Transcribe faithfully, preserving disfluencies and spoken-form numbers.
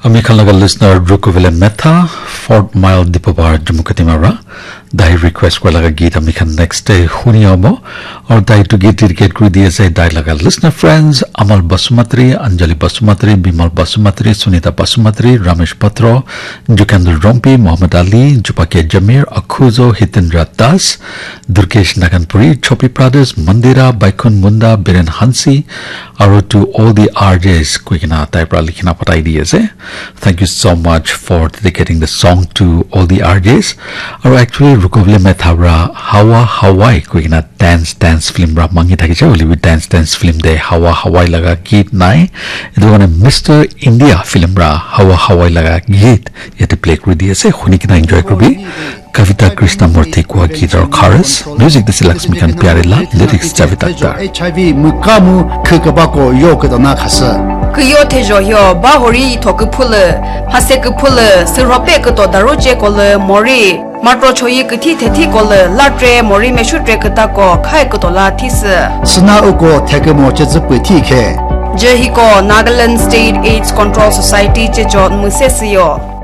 Ami khan laga listener Rukuvele Metha, Fort Mile, Dipapar, Jammu Katimara. Dai request kura laga git ami khan next day huni abo. Aru dai tu git dedicate kuri di ase dai laga listener friends, Amal Basumatri, Anjali Basumatri, Bimal Basumatri, Sunita Basumatri, Ramesh Patro, Jukendra Rompi, Muhammad Ali, Jupake Jamir, Akhuzo, Hitendra Das, Durkesh Naganpuri, Chopi Brothers, Mandira, Baikun Munda, Biren Hansi, aru to all the R Js koi kena tai pra likhina patai di ase. Thank you so much for dedicating the song to all the R Js. Aru actually, Rukuvele Metha pra Hawa Hawai koi kena dance, dance film pra mangi thakise, hoile bi dance, dance film te Hawa Hawai laga git nai. Etu karne Mister India film pra Hawa Hawai laga git yate play kuri di ase, huni kena enjoy kuribi. Kavita Krishnamurthy kwa git aru chorus, music dise Laxmikant Pyarelal, lyrics Javed Akhtar. H I V mukamu khekabako yo kedona khasa. Kyo thejo hyo ba hori itho kuphule, hase kuphule, sirhope kuto daru che kole mori, matro choyi kuthi thethi kole, latre mori meshu tre kuta ko khai kuto la thise. Sna uko thekemo che zupwe thi khe. Je hiko Nagaland State AIDS Control Society che jo muse siyo.